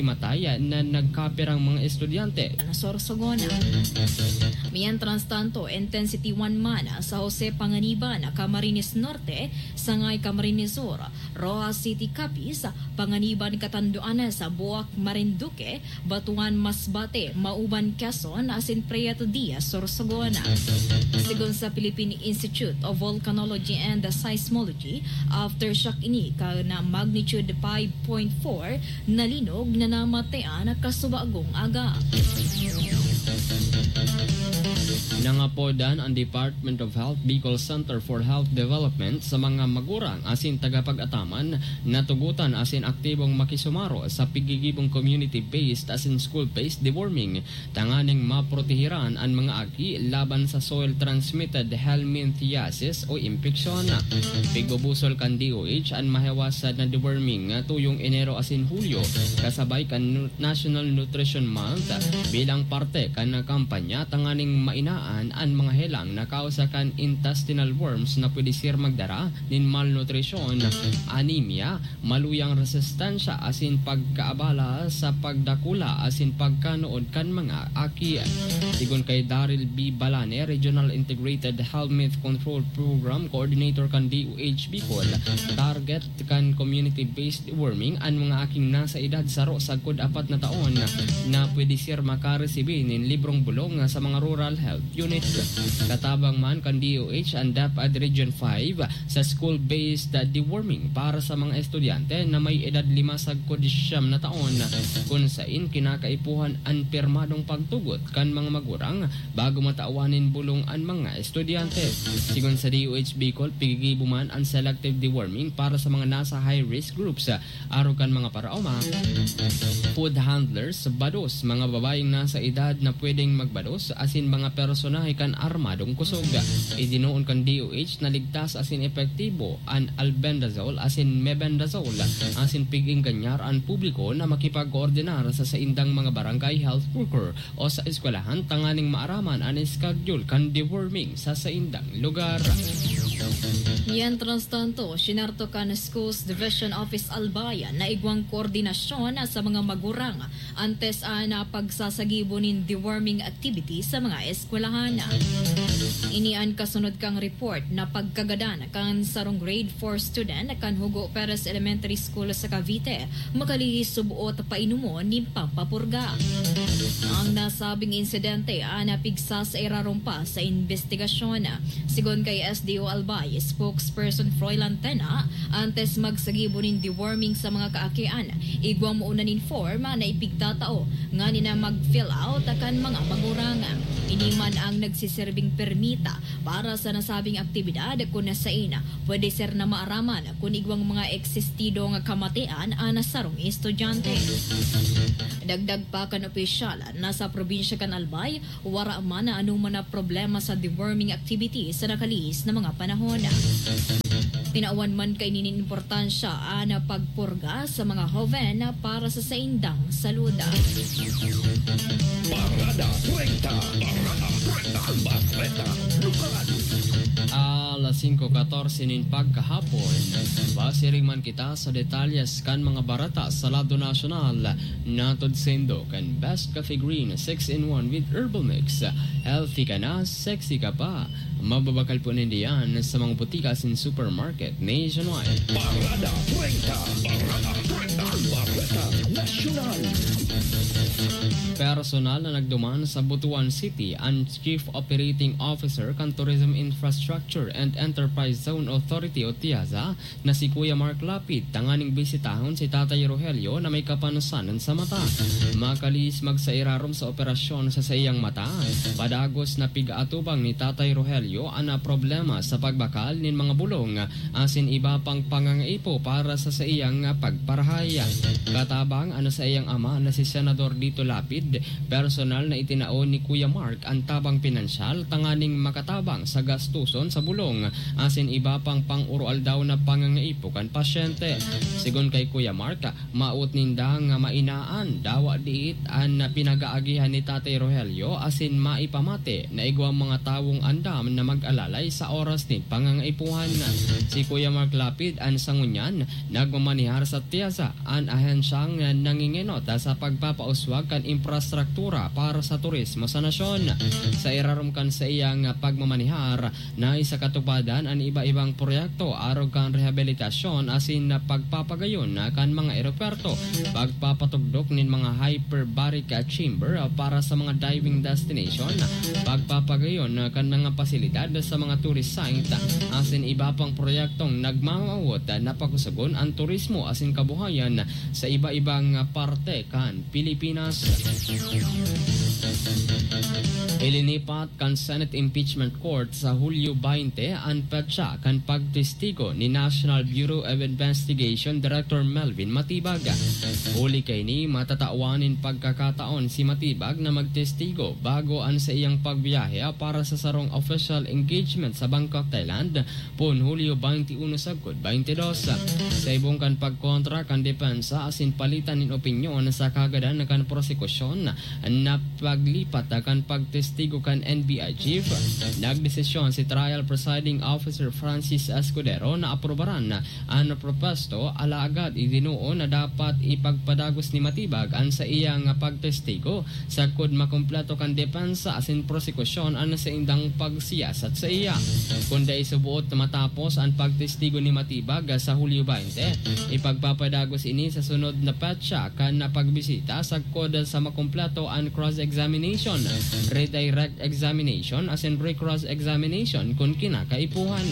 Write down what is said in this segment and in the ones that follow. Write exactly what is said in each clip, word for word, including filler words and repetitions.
matay na nagkapirang mga estudyante. Sorsogon. Mientras tanto, Intensity one man sa Jose Panganiban, Camarines Norte, Sangay Camarines Sur, Roxas City, Capiz, Panganiban, Catanduanes, Buac, Marinduque, Batuan, Masbate, Mauban, Quezon, asin Prieto Diaz, Sorsogon. Sigon sa Philippine Institute of Volcanology and Seismology, aftershock ini kan magnitude five point four na linog na namatean kasubagong aga. Nangapodan ang Department of Health Bicol Center for Health Development sa mga magurang asin tagapag-ataman na tugotan asin aktibong makisumaro sa pigigibong community-based asin school-based deworming tanganing maprotehiran an mga aki laban sa soil-transmitted helminthiasis o impeksyon. Pigbubusol kan D O H an mahiwasan na deworming tuyong Enero asin Hulyo, kasabay kan Nu-, National Nutrition Month, bilang parte kan kampanya tanganing mainaan an mga helang na kausa kan intestinal worms na pwede ser magdara nin malnutrisyon, anemia, maluyang resistensya asin pagkaabala sa pagdakula asin pagkanood kan mga aki. Sigon kay Daryl B. Balane, Regional Integrated Helminth Control Program Coordinator kan D O H Bicol, target kan community-based deworming an mga aking nasa edad saro sagkod apat na taon na pwede ser makaresibi nin librong bulong sa mga rural health unit. Katabang man kan D O H an DepEd Region five, sa school-based deworming para sa mga estudyante na may edad lima sagkod siyam na taon, kun sain kinakaipuhan an pirmadong pagtugot kan mga magurang bago matawan nin bulong an mga estudyante. Sigon sa D O H Bicol, pigigibo man an selective deworming para sa mga nasa high-risk groups, arog kan mga paraoma, food handlers, bados, mga babayeng nasa edad na pwedeng magbados, asin mga personahe kan armadong kusog. Idinoon kan D O H na ligtas asin epektibo an albendazole asin mebendazole, asin pig-engganyar an publiko na makipag-koordinar sa saindang mga barangay health worker o sa eskwelahan tanganing maaraman an schedule kan deworming sa saindang lugar. Mientras tanto, sinarto kan Schools Division Office Albay na igwang koordinasyon sa mga magurang antes an pagsasagibo nin deworming activity sa mga eskwelahan. Ini an kasunod kan report na pagkagadan kan sarong grade four student kan Hugo Perez Elementary School sa Cavite, makalihis subuot painomon nin pampapurga. Ang nasabing insidente an pigsasairarom pa sa imbestigasyon. Sigon kay S D O Albay spokesperson Froilan Tena, antes magsagibo nin deworming sa mga kaakian, igwa muna nin form na ipigtatao nganing mag-fill out kan mga magurang. Ini man ang nagsiserbing permita para sa nasabing aktibidad, kun sain pwede ser na maaraman kun igwang mga eksistidong kamatian an sarong estudyante. Dagdag pa kan opisyal, nasa probinsya kan Albay, wara man na anoman na problema sa deworming activity sa nakalihis na mga panahon. Tinawan man kaini nin importansya an pagpurga sa mga hoven para sa saindang salud. Parada treinta. Parada treinta. Bareta Lokal. Alas singko katorse nin pagkahapon. Pasiring man kita sa detalyes kan mga bareta sa lado nasyonal. Natod saindo kan Best Coffee Green six-in-one with Herbal Mix. Healthy ka na, sexy ka pa. Mababakal po ninda yan sa mga botika asin supermarket nationwide. Parada treinta. Parada treinta. Bareta Nasyonal. Personal na nagduman sa Butuan City an Chief Operating Officer kan Tourism Infrastructure and Enterprise Zone Authority o TIAZA na si Kuya Mark Lapid tanganing bisitahon si Tatay Rogelio na may kapanasanan sa mata. Makalihis magsairarom sa operasyon sa saiyang mata, padagos na pig-aatubang ni Tatay Rogelio an problema sa pagbakal nin mga bulong asin iba pang pangangaipo para sa saiyang pagparahay. Katabang an saiyang ama na si Senador Lito Lapid, Personal na itinao ni Kuya Mark an tabang pinansyal tanganing makatabang sa gastuson sa bulong asin iba pang pang-uroaldaw na pangangaipo kan pasyente. Sigon kay Kuya Mark, maot ninda nga mainaan dawa diit an pinagaagihan ni Tatay Rogelio asin maipamati na igwang mga tawong andam na mag-alalay sa oras nin pangangaipuhan. Si Kuya Mark Lapid an sa ngunyan nagmamanihar sa Tiasa, an ahensyang nangingenot sa pagpapauswag kan infrastruktura para sa turismo sa nasyon. Sa irarom kan saiyang pagmamanihar, naisakatupadan an iba-ibang proyekto arog kan rehabilitasyon asin pagpapagayon kan mga eropuwerto, pagpapatugdok nin mga hyperbaric chamber para sa mga diving destination, pagpapagayon kan mga pasilidad sa mga tourist site, asin iba pang proyektong nagmamawot na pakusagon an turismo asin kabuhayan sa iba-ibang parte kan Pilipinas. Ilinipat kan Senate Impeachment Court sa Hulyo twenty an petsa kan pagtestigo ni National Bureau of Investigation Director Melvin Matibag. Huli kaini, matatawan nin pagkakataon si Matibag na magtestigo bago an saiyang pagbiyahe para sa sarong official engagement sa Bangkok, Thailand, poon Hulyo twenty-uno sagkod twenty-dos. Sa ibong kan pagkontra kan depensa asin palitan nin opinyon sa kagadan kan prosekusyon, na paglipat kan pagtestigo kan N B I chief, nagdesisyon si Trial Presiding Officer Francis Escudero na aprobaran an propuesto, alagad idinuon na dapat ipagpadagos ni Matibag an saiyang pagtestigo sagkod makumpleto kan depensa asin prosekusyon an saindang pagsiyasat saiya. Kun dai suboot na matapos an pagtestigo ni Matibag sa Hulyo twenty, ipagpapadagos ini sa sunod na petsa kan pagbisita sagkod sa makumpleto an cross-examination, redirect examination asin re-cross-examination kun kinakaipuhan.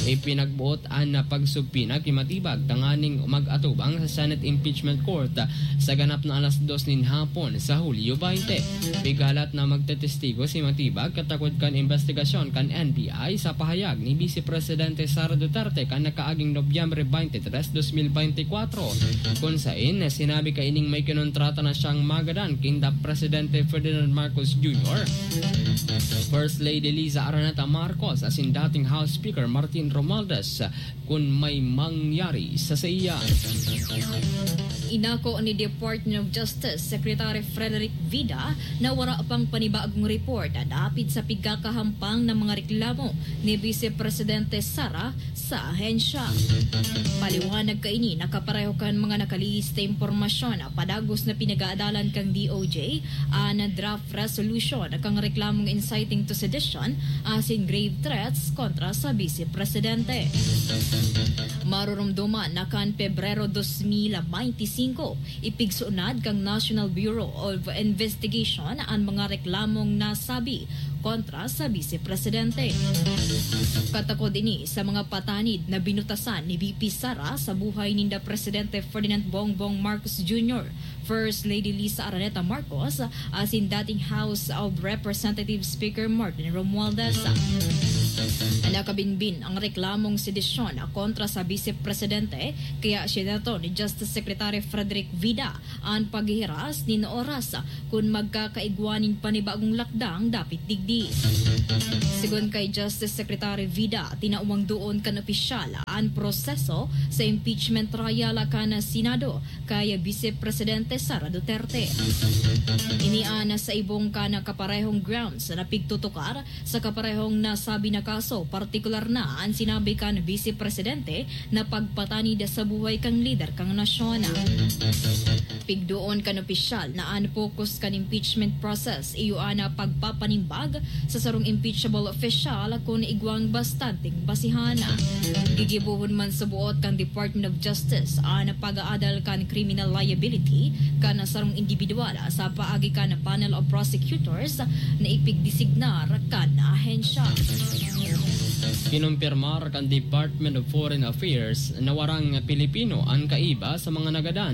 Ipinagboot an pagsubpina ki Matibag tanganing mag-atubang sa Senate Impeachment Court sa ganap na alas dos nin hapon sa Hulyo twenty. Pighalat na magtetestigo si Matibag katakod kan imbestigasyon kan N B I sa pahayag ni Vice Presidente Sara Duterte kan nakaaging Nobyembre twenty-three, dos mil bente kwatro, kun sain sinabi kaining may kinontrata na siyang magadan kinda Presidente Ferdinand Marcos Junior, First Lady Liza Araneta Marcos asin dating House Speaker Martin Romualdez kun may mangyari sa saiya. Inako ni Department of Justice Secretary Frederick Vida na wara pang panibagong report dapit sa pigkakahampang na mga reklamo ni Vice Presidente Sara sa ahensya. Paliwanag kaini na kapareho kan mga nakalihis na impormasyon padagos na pinag-aadalan kan D O J an draft resolution kan reklamong inciting to sedition asin grave threats kontra sa Vice Presidente. Marurumduman na kan Pebrero dos mil bente singko, ipigsunad kan National Bureau of Investigation an mga reklamong nasabi kontra sa Vice Presidente. Katakod ini sa mga patanid na binutasan ni V P Sara sa buhay ninda Presidente Ferdinand Bongbong Marcos Junior, First Lady Liza Araneta Marcos, asin dating House of Representatives Speaker Martin Romualdez. Nakabinbin ang reklamong sedisyon kontra sa Vice Presidente, kaya siya nato ni Justice Secretary Frederick Vida an paghihiras nin oras kun magkakaigwa nin panibagong lakdang dapit digdi. Sigon kay Justice Secretary Vida, tinawang doon kan opisyal an proseso sa impeachment trial kan Senado kay Vice Presidente Sara Duterte. Ini an sa ibong kan kaparehong grounds na pigtutukar sa kaparehong nasabi na kaso, partikular na an sinabi kan Vice Presidente na pagpatanid sa buhay kan lider kan nasyon. Pigdoon kan opisyal na an focus kan impeachment process iyo an pagpapanimbag sa sarong impeachable official kun igwang bastanteng basihan. Gigibohon man sa buot kan Department of Justice an pag-aadal kan criminal liability kan sarong indibidwal sa paagi kan panel of prosecutors na ipigdesignar kan ahensya. Kinumpirmar kan Department of Foreign Affairs na warang Pilipino an kaiba sa mga nagadan.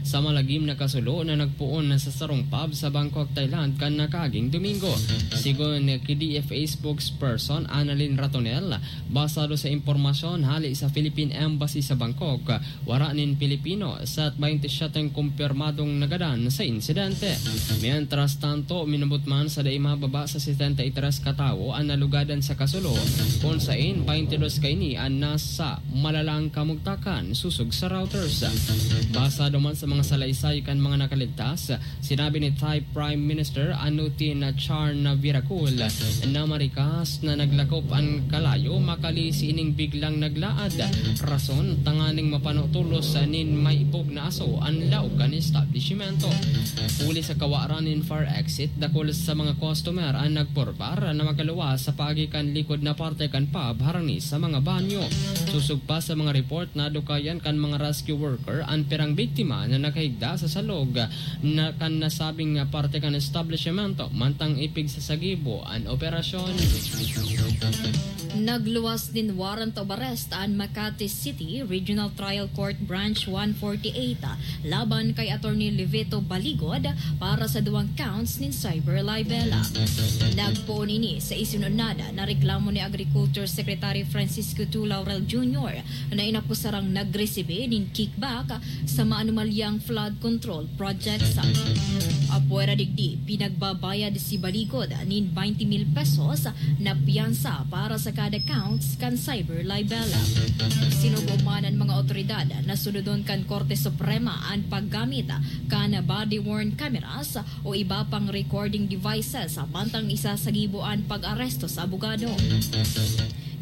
sa malagim na kasulo na nagpoon sa sarong pub sa Bangkok, Thailand kan nakaaging Domingo. Sigon ki D F A spokesperson Annalyn Ratonel, basado sa impormasyon hale sa Philippine Embassy sa Bangkok, wara nin Pilipino sa twenty-seven kumpirmadong nagadan sa insidente. Mientras tanto, minabot man sa dai mababa sa setenta y tres katawo an nalugadan sa kasulo, kun sain twenty-dos kaini an nasa malalang kamugtakan, sosog sa Reuters. Basado man sa mga salaysay kan mga nakaligtas, sinabi ni Thai Prime Minister Anutin Charnvirakul na marikas na naglakop an kalayo makali sining biglang naglaad, rason tanganing mapano tolos nin maibog na aso an laog kan establishmento. Huli sa kawaran nin fire exit, dakul sa mga customer an nagporbar na makaluwas sa paagi kan likod na parte kan pub harani sa mga banyo. Sosog pa sa mga report, nadukayan kan mga rescue worker an pirang biktima na nakahigda sa salog na kan nasabing parte kan establishmento mantang ipigsasagibo an operasyon. Nagluwas nin warrant of arrest an Makati City Regional Trial Court Branch one forty-eight laban kay Attorney Livito Baligod para sa duwang counts nin cyber libel. Nagpoon ini sa isunod na reklamo ni Agriculture Secretary Francisco Tu Laurel Junior na inakusarang nagresibi nin kickback sa maanomalyang flood control projects. Apwera digdi, pinagbabayad si Baligod nin twenty mil pesos na piyansa para sa kada counts kan cyber libel. Sinugo man an mga otoridad na sunodon kan Korte Suprema an paggamit kan body-worn cameras o iba pang recording devices mantang isasagibo an pag-aresto sa abogado.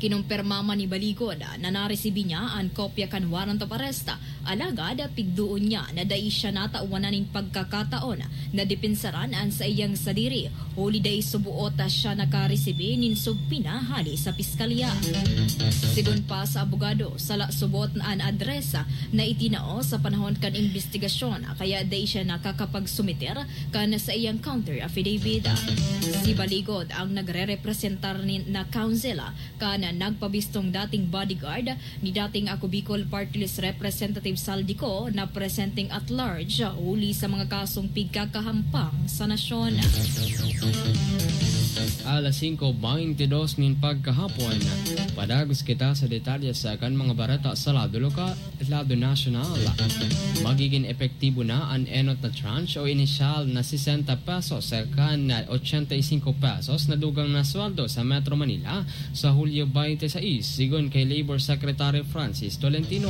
Kinumpirma man ni Baligod na naresibi niya an kopya kan warrant of arrest, alagad pigdoon niya na dai siya natawanan nin pagkakataon na depensaran an saiyang sadiri, huli dai suboot siya nakaresibi nin subpoena hale sa piskalya. Sigon pa sa abogado, sala suboot na an adresa na itinao sa panahon kan imbestigasyon, kaya dai siya nakakapagsumiter kan saiyang counter affidavit. Si Baligod ang nagrerepresentar ni, na counsel kan nagpabistong dating bodyguard ni dating Ako Bicol Party List Representative Saldico na presenteng at large huli sa mga kasong pigkakahampang sa nasyon. Alas singko beintidos nin pagkahapon, padagos kita sa detalye sa kan mga bareta sa lado lokal. Lado nasyonal. Magigin epektibo na an enot na tranche o inisyal na sesenta pesos kan ochenta y cinco pesos na dugang na sweldo sa Metro Manila sa Hulyo twenty-six, sigon kay Labor Secretary Francis Tolentino.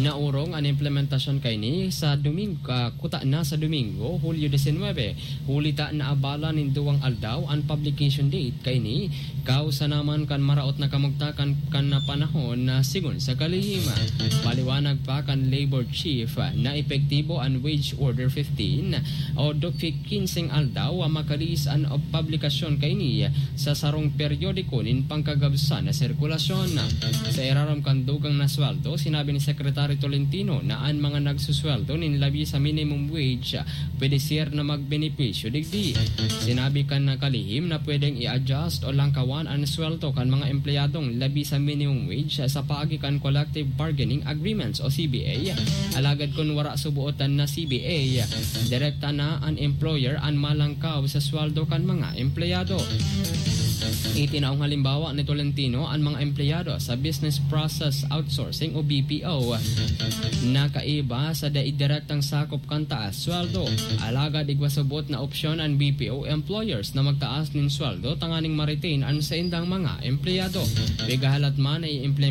Naorong an implementasyon kaini sa Domingo, ah, kuta na sa Domingo, Hulyo diecinuebe, huli ta naabala nin duwang aldaw an publication date kaini. Kausa naman kan maraot na kamugtakan kan na panahon na sigon sa kalihim. Paliwanag pa kan Labor Chief na epektibo an Wage Order fifteen o do kinseng aldaw makalihis an publikasyon kaini sa sarong peryodiko nin pangkagabsan na sirkulasyon. Sa irarom kan dugang na sweldo, sinabi ni Secretary Tolentino na an mga nagsusweldo nin labi sa minimum wage pwede siya na magbenepisyo digdi. Sinabi kan nakalihim na pwedeng i-adjust o langkawan an sweldo kan mga empleyadong labi sa minimum wage sa paagi kan collective bargaining agreements o C B A. Alagad kun wara subuotan na C B A, direkta na an employer an malangkaw sa sweldo kan mga empleyado. Itinaong halimbawa ni Tolentino an mga empleyado sa business process outsourcing o B P O na kaiba sa dai direktang sakop kan taas sweldo. Alagad igwa subot na opsyon an B P O employers na magtaas nin sweldo tanganing ma-retain an saindang mga empleyado. Pigahalat man na i-implement